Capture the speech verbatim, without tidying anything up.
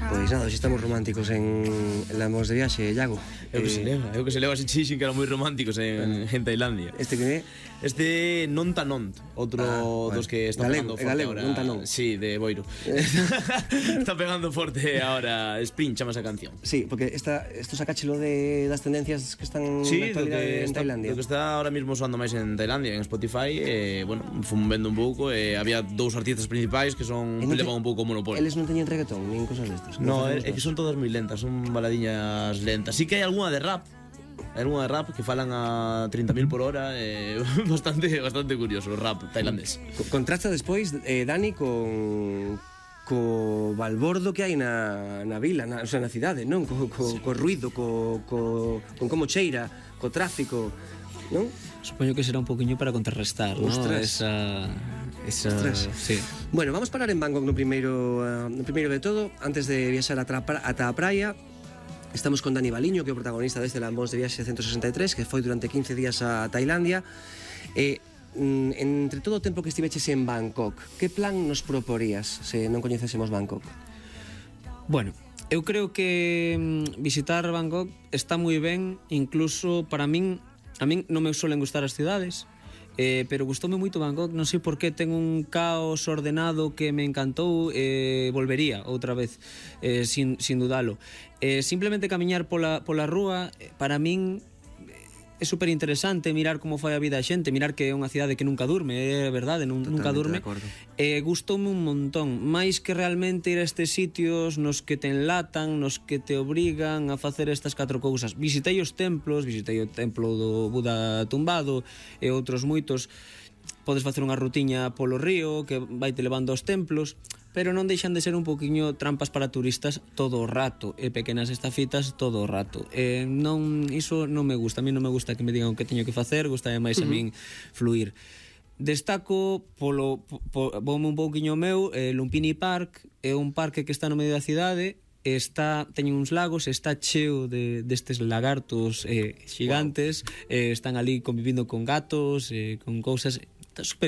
Pois nada, hoxe estamos románticos en Lamos de Viaxe, Iago. Eu que se leva, eu que se leva ese chixin que eran moi románticos en, en Tailandia. Este que é? Este Non Tanont, outro ah, bueno, dos que está galego, pegando forte galego, ahora. Non Tanont. Sí, de Boiro. Está pegando forte ahora Spring, chama esa canción. Sí, porque esta, esto sacáchelo de das tendencias que están sí, na actualidade en está, Tailandia. Do que está ahora mismo soando máis en Tailandia, en Spotify, eh, bueno, fun vendo un pouco, eh, había dous artistas principais que son que levan un pouco o monopolio. Eles non teñen reggaetón, nin cosas destas. No, é, é que son todas moi lentas, son baladiñas lentas. Sí que hai algunha de rap. Hai algunha de rap que falan a trinta mil por hora, eh, bastante bastante curioso o rap tailandés. Contrasta despois eh, Dani con co balbordo que hai na, na vila, na, o sea, na cidade, non? Co, co, sí. co ruido, co, co, con como cheira, co tráfico, non? Supoño que será un poquinho para contrarrestar, non? Esa... esa... Sí. Bueno, vamos parar en Bangkok no primeiro, uh, no primeiro de todo, antes de viaxar ata a praia. Estamos con Dani Baliño, que é o protagonista deste Lambóns de Viaxe ciento sesenta e tres, que foi durante quince días a Tailandia. E, entre todo o tempo que estiveches en Bangkok, que plan nos proporías se non coñecésemos Bangkok? Bueno, eu creo que visitar Bangkok está moi ben, incluso para min, a min non me suelen gustar as cidades, Eh, pero gustoume moito Bangkok, non sei por que ten un caos ordenado que me encantou, eh, volvería outra vez, eh, sin, sin dudalo. Eh, simplemente camiñar pola, pola rúa, para min é super interesante mirar como foi a vida a xente, mirar que é unha cidade que nunca durme, é verdade, non, nunca durme. Eh, gustoume un montón, máis que realmente ir a estes sitios nos que te enlatan, nos que te obrigan a facer estas catro cousas. Visitei os templos, visitei o templo do Buda tumbado e outros moitos. Podes facer unha rutiña polo río que vai te levando aos templos, pero non deixan de ser un poquinho trampas para turistas todo o rato, e pequenas estafitas todo o rato. Eh, non, iso non me gusta, a mí non me gusta que me digan o que teño que facer, gusta máis a min fluir. Destaco polo, po, voume un pouquiño meu, eh, Lumpini Park é un parque que está no medio da cidade, está, teñen uns lagos, está cheo de destes lagartos eh, xigantes, wow. eh, están ali convivindo con gatos, eh, con cousas, está super